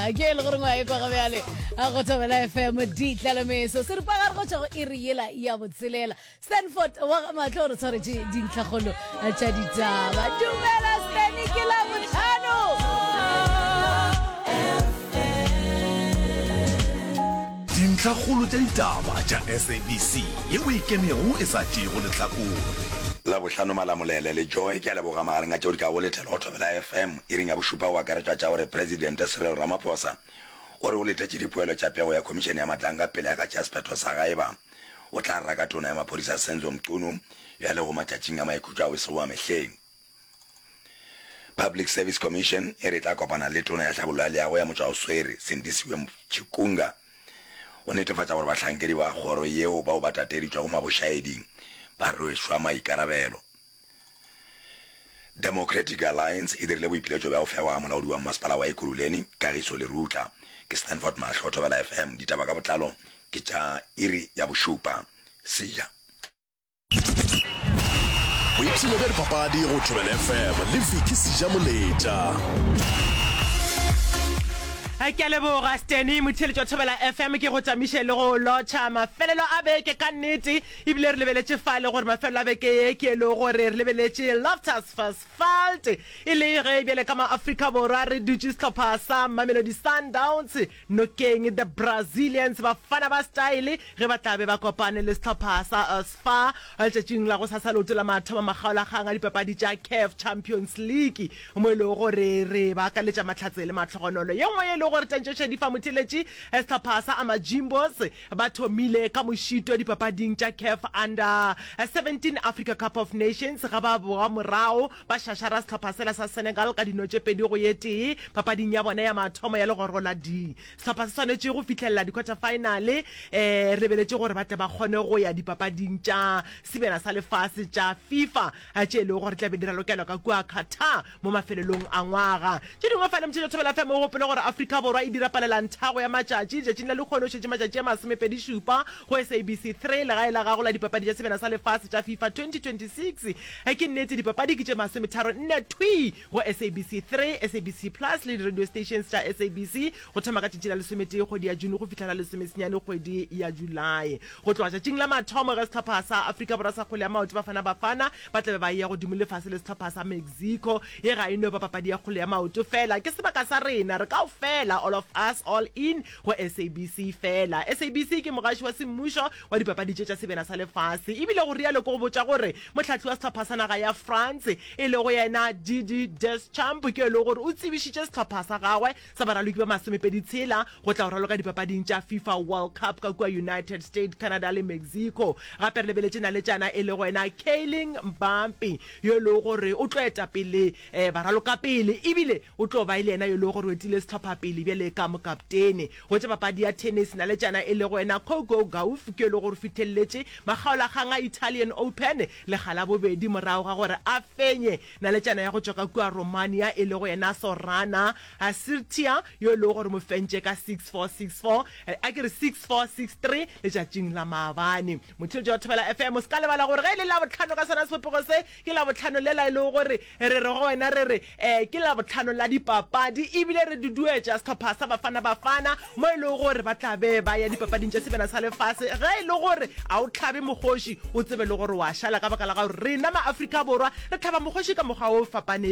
Ke e le gore ngwa e kwa ga bjale a go thobela FM ditlalemeso seripagare go tšwa go iri yela ya botselela. Stanford wa ga Mahlo o re tshwaretše dintlhakgolo tša ditaba. Dumela Stany ke la botlhano. Dintlhakgolo tša ditaba tša SABC yeo e ikemego e sa tšeego lehlakore. Labohlano Malamulele le Joy ke a leboga magareng a tšeo di kago letela go Thobela FM iring ya bošupa go akaretšwa tša gore Presidente Cyril Ramaphosa o re o letetše dipoelo tša pego ya Khomišene ya Matlanga pele a ka tšea sephetho sa ga eba o tla raka Tona ya Maphodisa Senzo Mchunu yo a lego matšatšing a maikhutšo ao e sego a mehleng. Public Service Commission e re e tla kopana le Tona ya Tlhabollo ya Leago ya Motšwaoswere, Sindisiwe Chikunga, go netefatša gore bahlankedi ba kgoro yeo bao ba tateditšwego mabošaeding ba rwešwa maikarabelo. Democratic Alliance e dirile boipiletšo bja go fewa ga molaodi wa mmasepala wa Ekurhuleni, Kagiso Lerutla. Ke Stanford Mahlo, Thobela FM. Ditaba ka botlalo ke tša iri ya bošupa. See ya. Boipshino bja dipapadi go Thobela FM le Vicky Sejamoletša. Ke a leboga Steny motheeletši wa Thobela FM ke go tamiše le go lotšha mafelelo a beke ka nnete ebile re lebeletše fale gore mafelelo a beke ye ke e le gore re lebeletše Loftus Versfeld e le ge bjale ka ma-Afrika Borwa re dutše sehlopha sa Mamelodi Sundowns Nokeng The Brazilians, Bafana ba Style, ge ba tla be ba kopane le sehlopha sa SFA letšatšing la gosasa leoto la mathomo makgaolakgang a dipapadi tša CAF Champions League mo e lego gore re ba akaletša mahlatse le mahlogonolo. Ye nngwe ye e lego gore tantšo Shadifa Motheletši, sehlopha sa Amajimbos ba thomile ka mošito dipapading tša CAF Under 17 Africa Cup of Nations ga ba boa morago Ba šašara sehlopha sela sa Senegal ka dino tše pedi go ye tee papading ya bona ya mathomo ya legoro la D. Sehlopha se swanetše go fihlelela di-quarter-final re lebeletše gore ba tle ba kgone go ya dipapading tša Sebjana sa Lefase tša FIFA tše e lego gore di tla be di ralokelwa ka kua Qatar mo mafelelong a ngwaga. Tše dingwe fale Motšhetšo Thobela FM o gopole gore Afrika Borwa e dira palelanthago ya matšatši letšatšing la lehono šetše matšatši a masomepedi-šupa go SABC 3 legae la gago la dipapadi tša Sebjana sa Lefase tša FIFA 2026. Ke nnete, dipapadi ke tše masometharo nne thwii go SABC 3, SABC Plus le di-radio stations tša SABC go thoma ka tšatši la lesometee kgwedi ya June go fihla la lesomesenyane kgwedi ya Julae. Go tloga tšatšing la mathomo ge sehlopha sa Afrika Borwa sa kgwele ya maoto Bafana Bafana ba tla be ba eya godimo le fase le sehlopha sa Mexico. Ye ga e no ba papadi ya kgwele ya maoto feela, ke sebaka sa rena re kaofela, all of us, all in, go SABC feela. SABC ke mogaši wa semmušo wa dipapadi tše tša Sebjana sa Lefase. E bile go rialo ke go botša gore mohlahli wa sehlopha sa naga ya France e lego yena Didier Deschamps ke yo e lego gore o tsebišitše sehlopha sa gagwe sa baraloki ba masomepedi tshela go tla go raloka dipapading tša FIFA World Cup ka kua United States, Canada le Mexico. Gape re lebeletše naletšana e lego yena Kylian Mbappe yo e lego gore o tlo eta pele baralokapele ebile o tlo ba e le yena yo e lego gore o etile sehlopha pele bjale ka mokaptene. Go tša papadi ya tennis, naletšana e lego yena Coco Gauff ke yo e lego gore o fihleletše makgaolakgang a Italian Open lekga la bobedi morago ga gore a fenye naletšana ya go tšwa ka kua Romania e lego yena Sorana Sirtia yo e lego gore o mo fentše ka 6-4, 6-4, a ke re 6-4, 6-3 letšatšing la maabane. Motheeletši wa Thobela FM, o se ka lebala gore ge e le Labohlano ka sona sebopego se, ke Labohlano lela e lego gore re re go wena re re um ke Labohlano la dipapadi ebile re duduetša sehlopha sa Bafana Bafana mo e lego gore ba tla be ba ya dipapading tša Sebjana sa Lefase. Ge e le gore a o hlabe mokgoši, o tsebe le gore wa šala ka baka la gore rena ma-Afrika Borwa re hlaba mokgoši ka mokgwa wo fapanego.